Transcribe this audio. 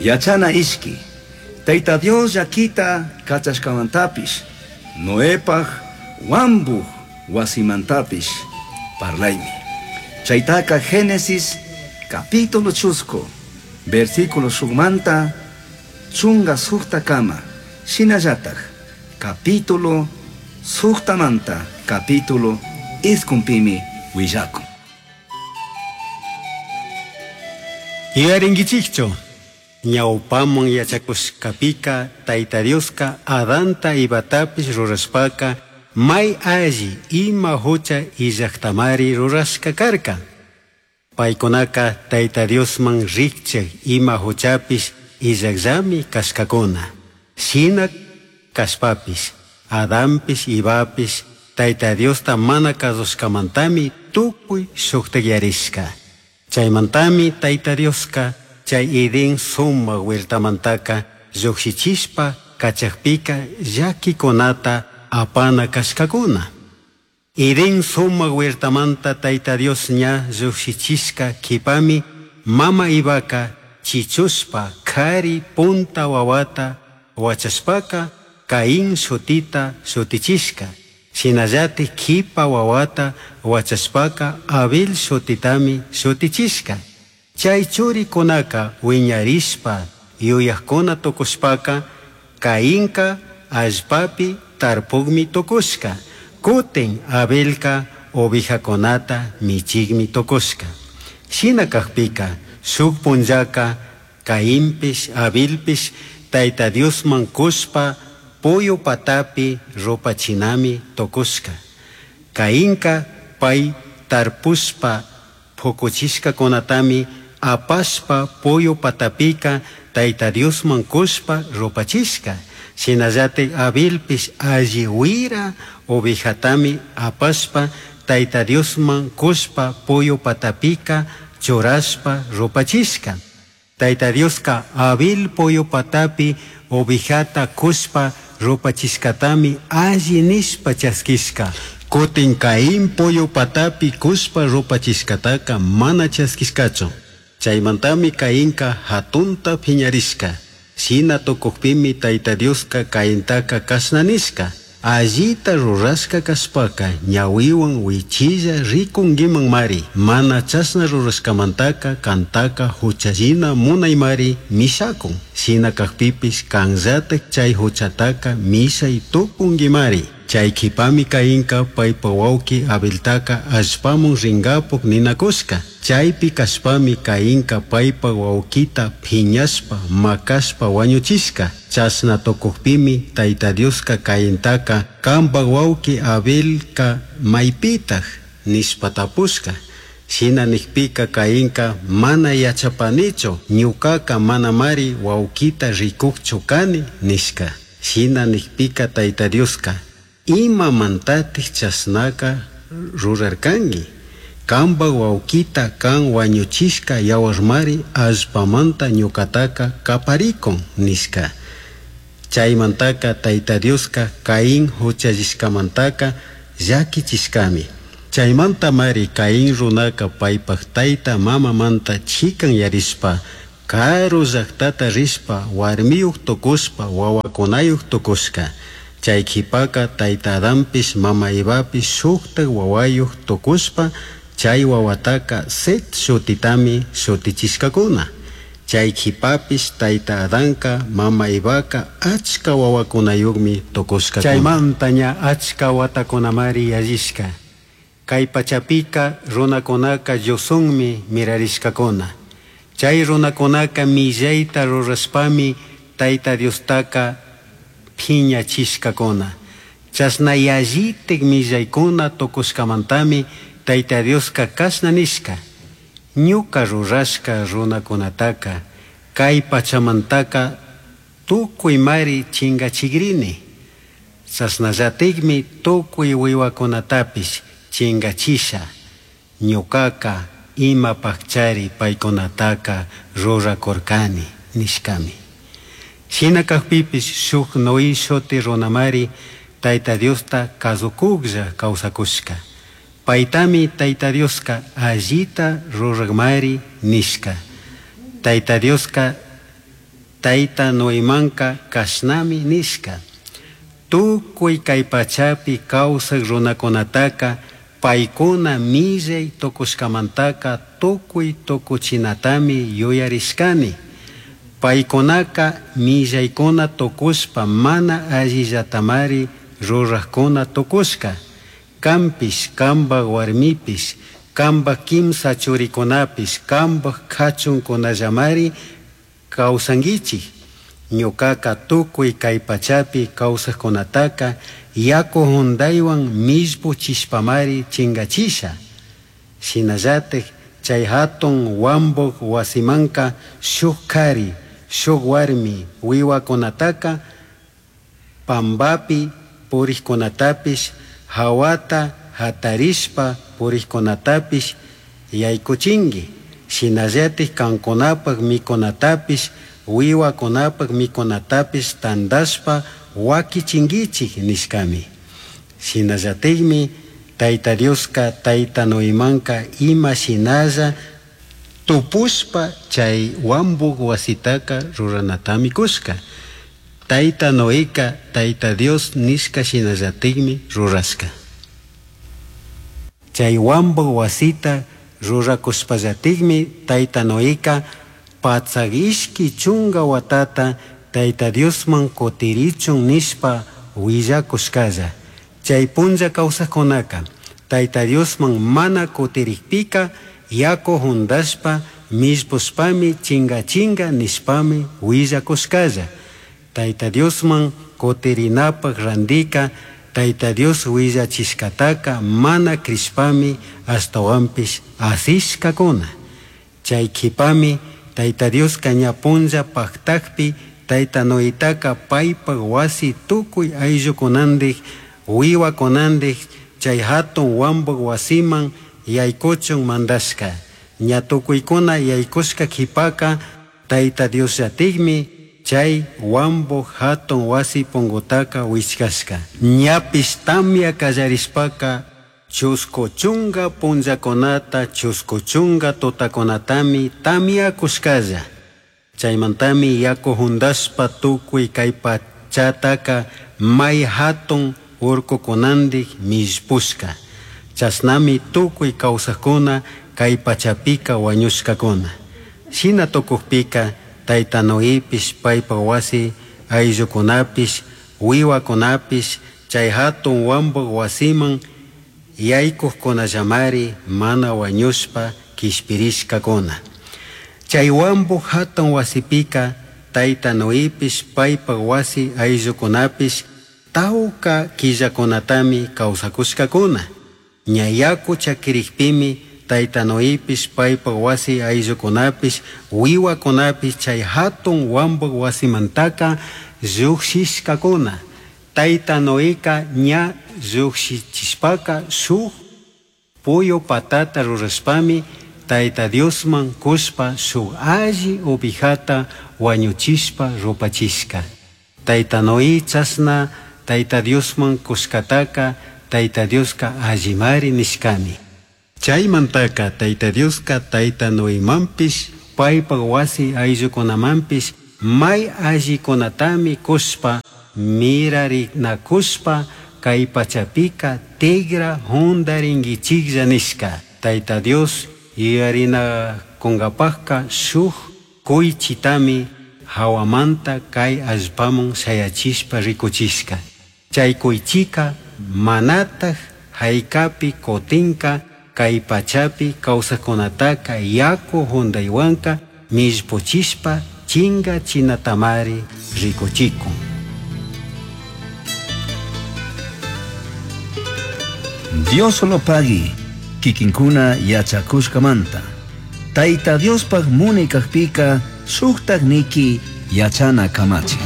Yachana ishqui. Tayta Dios llaquita cachashcamantapish, Noepaj huambuj huasimantapish parlaimi. Chaitaca Génesis capítulo chuscu, versículo shujmanta chunga sujtacama, shinallataj capítulo sujtamanta capítulo iscunpimi huillacun. Yuyarinkichikchu, ñawpaman yachakushkapika Tayta Dioska Adanta Evatapish rurashpaka may alli ima hucha illajtamari rurashka karka. Paykunaka Tayta Diosman rikchak ima huchapish illajllami kashkakuna. Shina kashpapish, Adanpish Evapish Tayta Diosta mana kazushkamantami tukuy shuktakyarishka. Chaymantami Tayta Dioska chay Edén sumak huertamantaka llukshichishpa kachakpika llakikunata apana kashkakuna. Edén sumak huertamanta Tayta Dios ña llukshichishka kipami mama Evaka chichushpa kari punta wawata wachashpaka Caín shutita shutichishka. Shinallatik kipa wawata wachashpaka Abel shutitami shutichishka. Chay churikunaka wiñarishpa yuyakuna tukushpaka Cainka allpapi tarpukmi tukushka. Kutin Abelka ovejakunata michikmi tukushka. Shina kakpika shuk punllaka Cainpish Abelpish Tayta Diosman kushpa puyu patapi rupachinami tukushka. Cainka pay tarpushpa pukuchishkakunatami apashpa puyu patapika Tayta Diosman kushpa rupachishka. Shinallatik Abelpish alli wira ovejatami apashpa Tayta Diosman kushpa puyu patapika churashpa rupachishka. Tayta Dioska Abel puyu patapi ovejata kushpa rupachishkatami alli nishpa chaskishka. Kutin Caín puyu patapi kushpa rupachishkataka mana chaskishkachu. Chaymantami Cainka hatunta piñarishka. Shina tukukpimi Tayta Dioska Caintaka kashna nishka: Allita rurashka kashpaka ñawiwan wichilla rikunkimanmari. Mana chashna rurashkamantaka kantaka huchallina munaymari mishakun. Shina kakpipish kanllatak chay huchataka mishay tukunkimari. Chay kipami Cainka paypa wawki Abeltaka allpaman rinkapuk ninakushka. Chaypi kashpami Cainka paypa wawkita piñashpa makashpa wañuchishka. Chashna tukukpimi Tayta Dioska Caintaka kanpak wawki Abelka maypitak nishpa tapushka. Shina nikpika Cainka mana yachapanichu, ñukaka manamari wawkita rikukchu kani nishka. Shina nikpika Tayta Dioska imamantatik chashnaka rurarkanki? Kanpak wawkita kan wañuchishka yawarmari allpamanta ñukataka kaparikun nishka. Chaymantaka Tayta Dioska Caín huchallishkamantaka llakichishkami. Chaymantamari Caín runaka paypak tayta mamamanta chikanyarishpa karu llaktata rishpa warmiyuk tukushpa wawakunayuk tukushka. Chay kipaka Tayta Adanpish mama Evapish shuktak wawayuk tukushpa chay wawataka Set shutitami shutichishkakuna. Chay kipapish Tayta Adanka mama Evaka achka wawakunayukmi tukushkakuna. Chaymanta ña achka watakunamari yallishka. Kay pachapika runakunaka llushunmi mirarishkakuna. Chay runakunaka millayta rurashpami Tayta Diostaka piñachishkakuna. Chashna yallitik millaykuna tukushkamantami Tayta Dioska kashna nishka: Ñuka rurashka runakunataka kay pachamantaka tukuymari chingachigrini. Chashnallatikmi tukuy wiwakunatapish chingachisha. Ñukaka imapakchari paykunataka rurakurkani nishkami. Shina kakpipish shuk Noé shuti runamari Tayta Diosta kasukuklla kawsakushka. Paytami Tayta Dioska allita rurakmari nishka. Tayta Dioska Tayta Noemanca cashnami nishca: Tucui cai pachapi causaj runacunataca paicuna millai tucushcamantaca tucui tucuchinatami yuyarishcani. Paicunaca millaicuna tucushpa mana allillatamari rurajcuna tucushca. Canpish, cambaj huarmipish, cambaj quimsa churicunapish, cambaj cachuncunallamari causanguichij. Ñucaca tucui cai pachapi causajcunataca yacu jundaihuan millpuchishpamari chingachisha. Shinallataj chai jatun huambuj huasimanca shuj cari, shuj huarmi huihuacunataca pambapi purijcunatapish, jahuata jatarishpa purijcunatapish yaicuchingui. Shinallataj cancunapaj micunatapish, huihuacunapaj micunatapish tandashpa huaquichinguichij nishcami. Shinallatajmi Taita Diosca Taita Noemanca ima shinalla tupushpa chai huambuj huasitaca ruranatami cushca. Taita Noeca Taita Dios nishca shinallatajmi rurashca. Chai huambuj huasita ruracushpallatajmi Taita Noeca patsaj ishqui chunga huatata Taita Diosman cutirichun nishpa huillacushcalla. Chai punlla causajcunaca Taita Diosman mana cutirijpica yacu jundashpa millpushpami chingachinga nishpami huillacushcalla. Taita Diosman cutirinapaj randica Taita Dios huillachishcataca mana crishpami ashtahuanpish asishcacuna. Chai quipami Taita Diosca ña punlla pajtajpi Taita Noetaca paipaj huasi tucui ayllucunandij huihuacunandij chai jatun huambuj huasiman yaicuchun mandashca. Ña tucuicuna yaicushca quipaca Taita Diosllatajmi chai huambuj jatun huasi pungutaca huichcashca. Ñapish tamya callarishpaca chuscu chunga punllacunata chuscu chunga tutacunatami tamyacushcalla. Chaimantami yacu jundashpa tucui cai pachataca mai jatun urcucunandij millpushca. Chashnami tucui causajcuna cai pachapica huañushcacuna. Shina tucujpica Taita Noepish, paipaj huasi ayllucunapish, huihuacunapish chai jatun huambuj huasiman yaicujcunallamari mana huañushpa quishpirishcacuna. Chai huambuj jatun huasipica Taita Noepish, paipaj huasi ayllucunapish tauca quillacunatami causacushcacuna. Ña yacu chaquirijpimi Taita Noepish, paipaj huasi ayllucunapish, huihuacunapish chai jatun huambuj huasimantaca llujshishcacuna. Taita Noeca ña llujshichishpaca shuj puyu patata rurashpami Taita Diosman cushpa shuj alli ovejata huañuchishpa rupachishca. Taita Noé chashna Taita Diosman cushcataca Taita Diosca allimari nishcami. Chaimantaca Taita Diosca Taita Noemanpish, paipaj huasi ayllucunamanpish mai allicunatami cushpa mirarinacushpa cai pachapica tigra jundaringuichijlla nishca. Taita Dios yuyarinacungapajca shuj cuichitami jahuamanta cai allpaman shayachishpa ricuchishca. Chai cuichica manataj jaicapi cutinca cai pachapi causajcunataca yacu jundaihuanca millpuchishpa chingachinatamari ricuchicun. Dios lo pagui, kikinkuna yachakushkamanta. Tayta Diospaj munay kajpika shuktak niki yachana kamachi.